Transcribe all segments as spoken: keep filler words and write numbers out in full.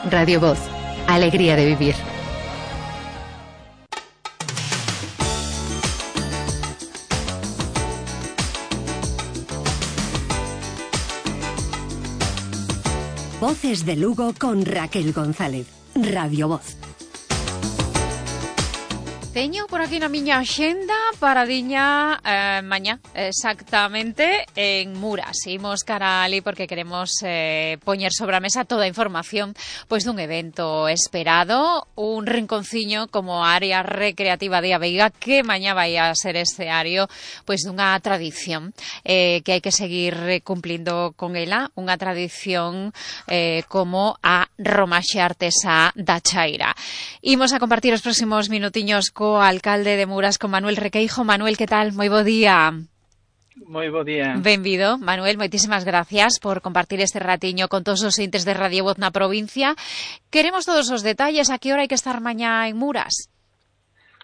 Radio Voz, alegría de vivir. Voces de Lugo con Raquel González. Radio Voz. Teño por aquí na miña axenda para diña eh, mañá, exactamente, en Muras. Imos cara ali porque queremos eh, poñer sobre a mesa toda a información pois dun evento esperado, un rinconciño como área recreativa de A Veiga que mañá vai a ser escenario pois dunha tradición eh, que hai que seguir cumplindo con ela, unha tradición eh, como a romaxe artesá da Chaira. Imos a compartir os próximos minutiños co alcalde de Muras, con Manuel Requeijo. Manuel, que tal? Moi bo día. Moi bo día. Benvido, Manuel, moitísimas gracias por compartir este ratiño con todos os entes de Radio Voz na provincia. Queremos todos os detalles, a que hora hai que estar mañá en Muras?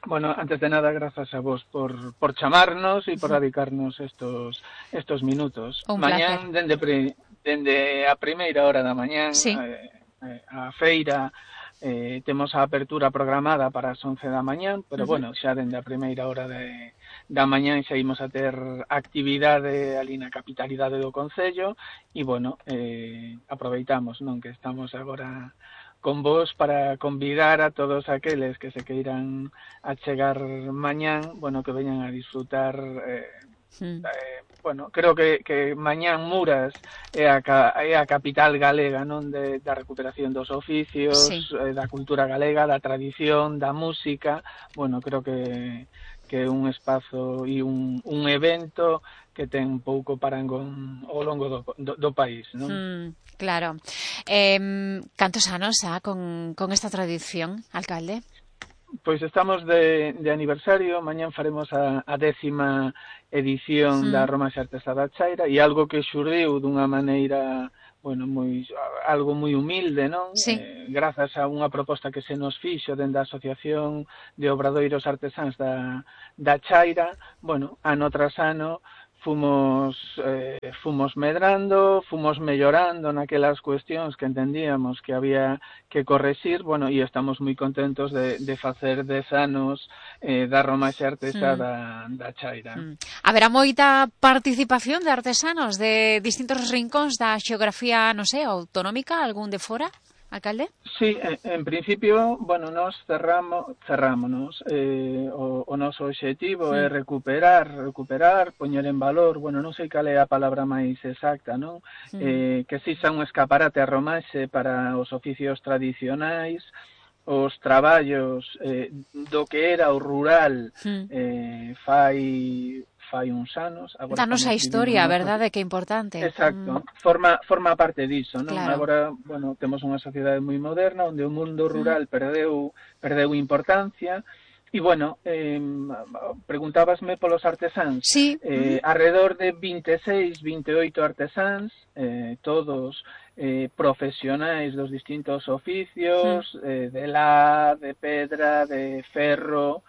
Bueno, antes de nada, grazas a vos por, por chamarnos e por dedicarnos estos estos minutos. Un mañán, dende, pre, dende a primeira hora da mañán, sí. eh, eh, a feira, Eh, temos a apertura programada para as once da mañán, pero uh-huh. bueno, xa dende a primeira hora de, da mañán xa imos a ter actividade ali na capitalidade do concello e, bueno, eh, aproveitamos, non, que estamos agora con vos para convidar a todos aqueles que se queiran achegar mañán, bueno, que veñan a disfrutar eh, sí. eh, bueno, creo que, que mañán Muras é a, é a capital galega, non, de, da recuperación dos oficios, sí. eh, da cultura galega, da tradición, da música. Bueno, creo que que é un espazo e un, un evento que ten un pouco parangón ao longo do, do, do país, non? Mm, claro. Eh, cantos anos ha con, con esta tradición, alcalde? Pois estamos de, de aniversario, mañán faremos a, a décima edición mm. da Romaxe Artesá da Chaira e algo que xurdiu dunha maneira, bueno, moi algo moi humilde, non? Sí. Eh, grazas a unha proposta que se nos fixo dende a Asociación de Obradoiros Artesáns da, da Chaira, bueno, ano tras ano fomos eh, fomos medrando, fomos mellorando naquelas cuestións que entendíamos que había que correxir, bueno, e estamos moi contentos de, de facer dez anos eh, da Romaxe Artesá mm. da, da Chaira. Mm. Haberá moita participación de artesanos de distintos rincóns da xeografía, non sei, autonómica, algún de fora? Alcalde? Sí, en, en principio, bueno, nos cerramos, cerrámonos. Eh, o, o noso obxectivo sí. é recuperar, recuperar, poñer en valor, bueno, non sei cal é a palabra máis exacta, non? Sí. Eh, que si xa un escaparate a Romaxe para os oficios tradicionais, os traballos eh, do que era o rural sí. eh, fai... fai uns anos. Danos a historia, verdade, que é importante. Exacto, mm. forma forma parte diso, non? Claro. Agora, bueno, temos unha sociedade moi moderna onde o mundo rural mm. perdeu perdeu importancia e, bueno, eh, preguntábasme polos artesáns. Sí. Eh, mm. Alrededor de vinte e seis, vinte e oito artesáns, eh, todos eh, profesionais dos distintos oficios, mm. eh, de la, de pedra, de ferro.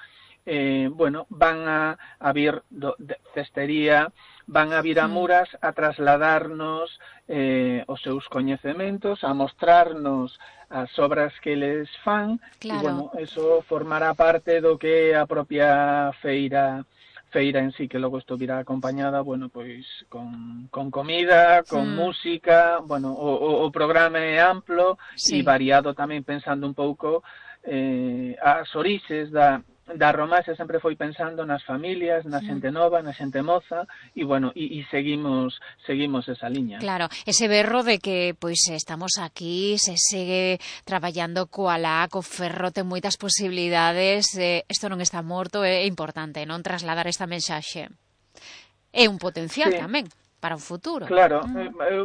Eh, bueno, van a, a vir do, de cestería, van a vir a Muras a trasladarnos eh, os seus coñecementos, a mostrarnos as obras que les fan, claro. E, bueno, eso formará parte do que é a propia feira feira en sí, que logo isto virá acompañada, bueno, pois con, con comida, con mm. música, bueno, o, o, o programa é amplo sí. e variado tamén pensando un pouco eh, as orixes da da Romaxe sempre foi pensando nas familias, na xente nova, na xente moza e, bueno, e, e seguimos seguimos esa liña. Claro, ese berro de que pois estamos aquí, se segue traballando coa la, co ferro, ten moitas posibilidades, eh, isto non está morto, é importante, non trasladar esta mensaxe. É un potencial sí. tamén para o futuro. Claro, mm. eh, eh,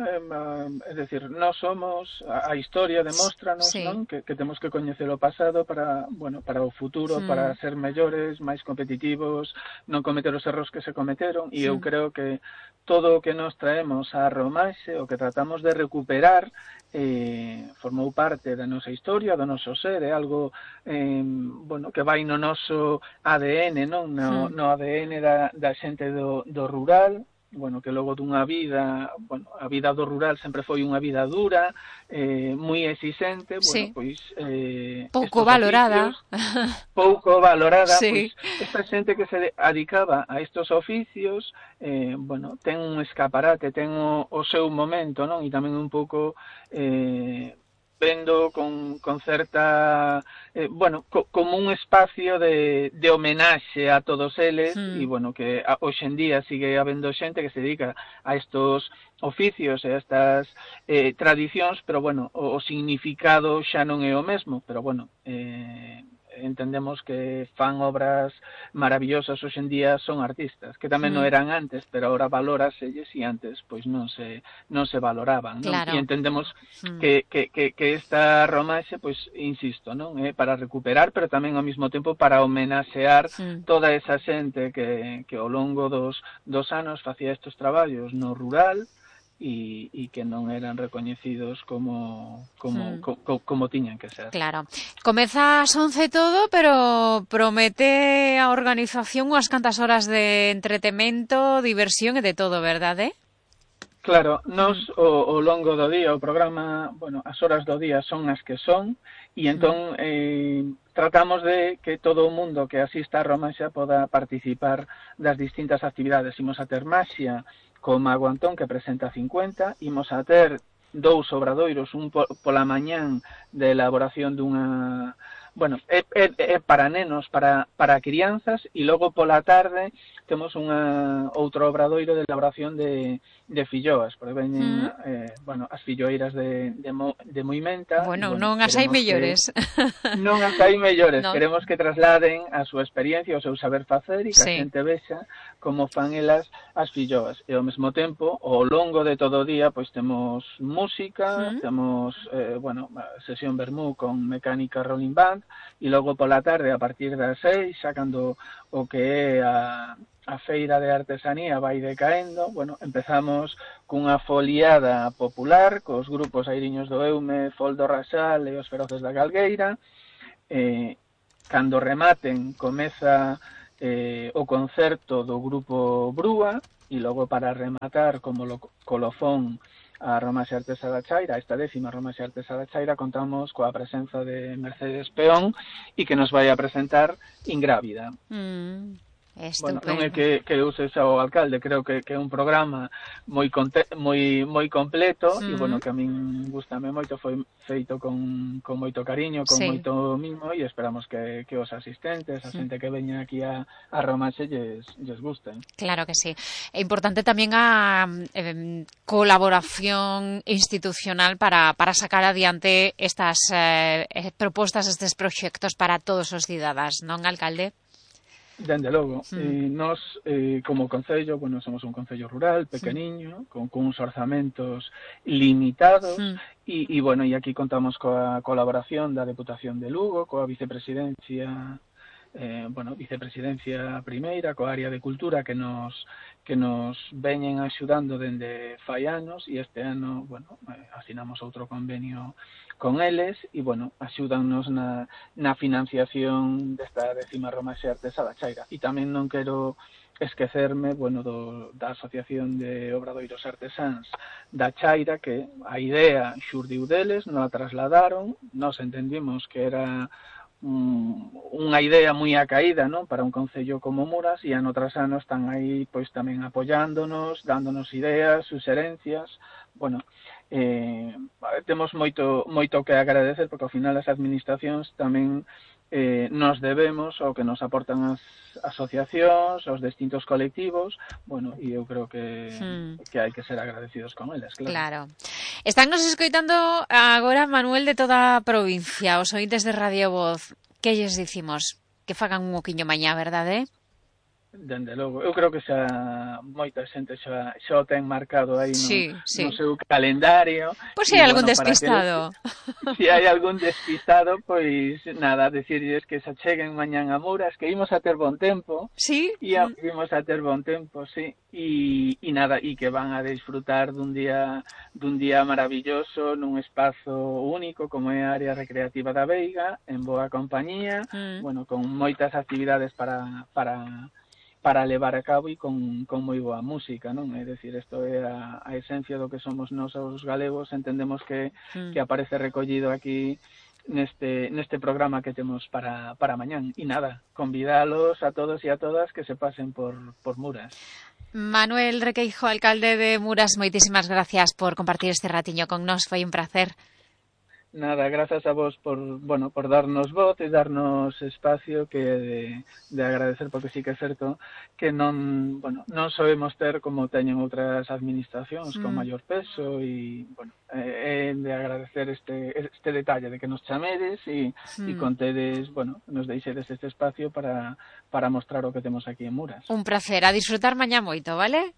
eh, é dicir, nós somos, a, a historia demóstranos, sí. non? Que, que temos que coñecer o pasado para, bueno, para o futuro, mm. para ser mellores, máis competitivos, non cometer os erros que se cometeron, e sí. eu creo que todo o que nos traemos a Romaxe, o que tratamos de recuperar, eh, formou parte da nosa historia, do noso ser, é algo eh, bueno, que vai no noso A D N, non? No, mm. no A D N da, da xente do, do rural, bueno, que logo dunha vida, bueno, a vida do rural sempre foi unha vida dura, eh, moi exixente, bueno, Sí. pois eh, Pouco estos valorada. oficios, pouco valorada, Sí. pois esta xente que se dedicaba a estos oficios, eh, bueno, ten un escaparate, ten o, o seu momento, non? E tamén un pouco eh, vendo con, con certa, eh, bueno, co, como un espacio de, de homenaxe a todos eles, Hmm. e, bueno, que a, hoxe en día sigue habendo xente que se dedica a estos oficios e a estas eh, tradicións, pero, bueno, o, o significado xa non é o mesmo, pero, bueno, eh, entendemos que fan obras maravillosas hoxe en día, son artistas, que tamén Hmm. non eran antes, pero ahora valóraselles e antes pois non se non se valoraban, non? Claro. E entendemos Hmm. que, que, que, que esta romaxe, pois, insisto, non? É para recuperar, pero tamén ao mesmo tempo para homenaxear Hmm. toda esa xente que, que ao longo dos, dos anos facía estes traballos no rural, e, e que non eran recoñecidos como como, Hmm. co, co, como tiñan que ser. Claro. Comeza ás once todo, pero promete a organización unhas cantas horas de entretemento, diversión e de todo, verdade? Claro, nos o, o longo do día, o programa, bueno, as horas do día son as que son, e entón eh, tratamos de que todo o mundo que asista a Romanxa poda participar das distintas actividades. Imos a ter maxia co Mago Antón, que presenta cincuenta, imos a ter dous obradoiros, un po, pola mañán de elaboración dunha... Bueno, é, é, é para nenos, para, para crianzas, e logo pola tarde temos unha outro obradoiro de elaboración de, de filloas, porque veñen, Mm. eh, bueno, as filloeiras de, de, Mo, de Moimenta. Bueno, E, bueno, non as hai queremos mellores. Que, non as hai mellores, No. queremos que trasladen a súa experiencia, o seu saber facer, e que Sí. a xente vexa como fan elas as filloas. E ao mesmo tempo, ao longo de todo o día, pois temos música, Mm. temos, eh, bueno, sesión vermú con mecánica rolling band, e logo pola tarde, a partir das seis, xa cando o que é a, a feira de artesanía vai decaendo, bueno, empezamos cunha foliada popular, cos grupos Airiños do Eume, Fol do Rasal e os Feroces da Galgueira. Eh, cando rematen, comeza eh, o concerto do grupo Brúa, e logo para rematar como lo, colofón a Romaxe Artesa da Chaira, esta décima Romaxe Artesa da Chaira, contamos coa presenza de Mercedes Peón, e que nos vai a presentar Ingrávida. Mm. Bueno, Estupendo. non é que, que eu sexa o alcalde, creo que, que é un programa moi conte, moi moi completo, e Mm. bueno, que a min gustame moito, foi feito con, con moito cariño, con Sí. moito mimo, e esperamos que, que os asistentes, a Mm. xente que veña aquí a, a Romaxe lles, lles gusten. Claro que sí. É importante tamén a eh, colaboración institucional para, para sacar adiante estas eh, propostas, estes proxectos para todos os cidadás, non, alcalde? Dende logo, Mm. eh, nós eh, como concello, bueno, somos un concello rural, pequeniño, mm. con, con uns orzamentos limitados, Mm. e, e bueno, e aquí contamos coa colaboración da Deputación de Lugo, coa vicepresidencia, eh, bueno, vicepresidencia primeira, coa área de cultura que nos que nos veñen axudando dende fai anos, e este ano, bueno, eh, asinamos outro convenio con eles, e, bueno, axúdannos na, na financiación desta décima Romaxe Artesa da Chaira. E tamén non quero esquecerme, bueno, do, da Asociación de Obradoiros Artesáns da Chaira, que a idea xurdiu deles, non a trasladaron, nós entendimos que era un, unha idea moi acaída, non, para un concello como Muras, e ano tras ano están aí pois tamén apoiándonos, dándonos ideas, suxerencias. Bueno, eh, temos moito moito que agradecer, porque ao final as administracións tamén eh, nos debemos ao que nos aportan as asociacións, aos distintos colectivos, bueno, e eu creo que, Hmm. que hai que ser agradecidos con eles, claro. Claro. Están nos escoitando agora, Manuel, de toda a provincia, os ointes de Radio Voz. Que lles dicimos? Que fagan un oquiño mañá, verdade? Dende logo, eu creo que xa moita xente xa, xa o ten marcado aí no, Sí, sí. no seu calendario. Pois se hai algún bueno, despistado. Se si hai algún despistado, pois nada, decirles que se acheguen mañán a Muras, que imos a ter bon tempo. Sí? E imos a ter bon tempo, sí. E, e nada, e que van a disfrutar dun día dun día maravilloso nun espazo único como é a área recreativa da Veiga, en boa compañía, Mm. bueno, con moitas actividades para para para levar a cabo e con, con moi boa música, non? É dicir, isto é a, a esencia do que somos nós os galegos, entendemos que, mm. que aparece recollido aquí neste neste programa que temos para, para mañán. E nada, convidalos a todos e a todas que se pasen por, por Muras. Manuel Requeijo, alcalde de Muras, moitísimas gracias por compartir este ratiño con nós, foi un placer. Nada, grazas a vos por, bueno, por darnos voz e darnos espacio, que de, de agradecer, porque sí que é certo que non, bueno, non sabemos ter como teñen outras administracións mm. con maior peso e, bueno, é de agradecer este este detalle de que nos chamedes e, mm. e contedes, bueno, nos deixedes este espacio para, para mostrar o que temos aquí en Muras. Un placer, a disfrutar mañá moito, vale?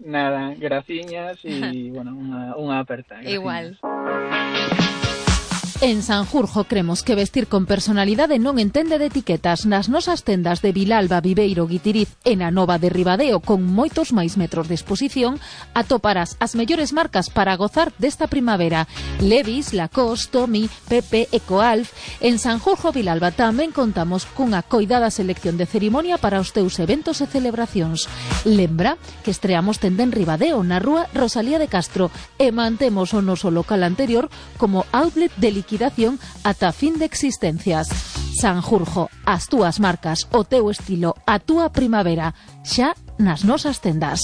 Nada, graciñas e, bueno, unha, unha aperta. Graciñas. Igual. En Sanjurjo cremos que vestir con personalidade non entende de etiquetas. Nas nosas tendas de Vilalba, Viveiro, Guitiriz e na Nova de Ribadeo, con moitos máis metros de exposición, atoparás as mellores marcas para gozar desta primavera. Levi's, Lacoste, Tommy, Pepe, Ecoalf. En Sanjurjo, Vilalba, tamén contamos cunha coidada selección de cerimonia para os teus eventos e celebracións. Lembra que estreamos tenda en Ribadeo, na rúa Rosalía de Castro, e mantemos o noso local anterior como outlet de liquidación ata fin de existencias. Sanjurjo, as túas marcas, o teu estilo, a túa primavera, xa nas nosas tendas.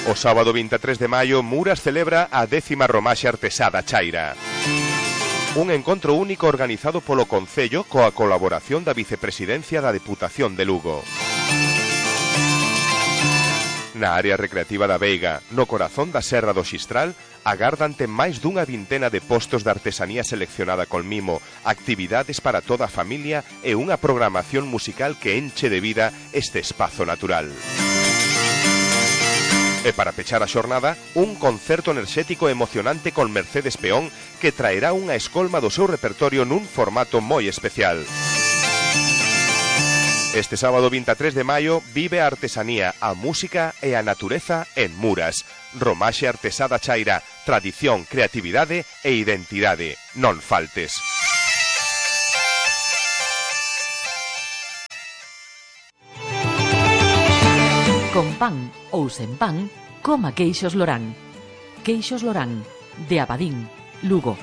O sábado vinte e tres de maio, Muras celebra a décima Romaxe Artesá da Chaira. Un encontro único organizado polo Concello coa colaboración da Vicepresidencia da Deputación de Lugo. Na área recreativa da Veiga, no corazón da Serra do Xistral, agárdante máis dunha vintena de postos de artesanía seleccionada con mimo, actividades para toda a familia e unha programación musical que enche de vida este espazo natural. E para pechar a xornada, un concerto enerxético e emocionante con Mercedes Peón que traerá unha escolma do seu repertorio nun formato moi especial. Este sábado vinte e tres de maio vive a artesanía, a música e a natureza en Muras. Romaxe Artesá da Chaira, tradición, creatividade e identidade. Non faltes. Con pan ou sen pan, coma queixos Lorán. Queixos Lorán, de Abadín, Lugo.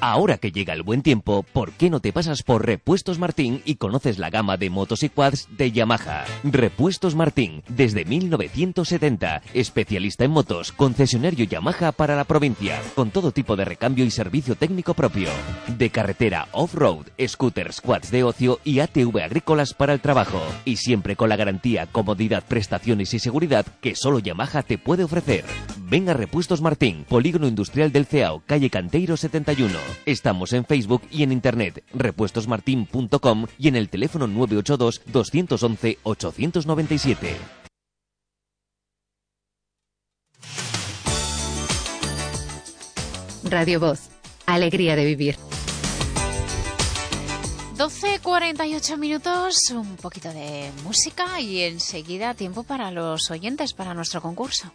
Ahora que llega el buen tiempo, ¿por qué no te pasas por Repuestos Martín y conoces la gama de motos y quads de Yamaha? Repuestos Martín, desde mil novecientos setenta, especialista en motos, concesionario Yamaha para la provincia, con todo tipo de recambio y servicio técnico propio. De carretera, off-road, scooters, quads de ocio y A T V agrícolas para el trabajo. Y siempre con la garantía, comodidad, prestaciones y seguridad que solo Yamaha te puede ofrecer. Ven a Repuestos Martín, Polígono Industrial del Ceao, calle Canteiro setenta y uno. Estamos en Facebook y en internet, repuestos martin punto com y en el teléfono nueve ocho dos, dos uno uno, ocho nueve siete. Radio Voz, alegría de vivir. doce cuarenta y ocho minutos, un poquito de música y enseguida tiempo para los oyentes, para nuestro concurso.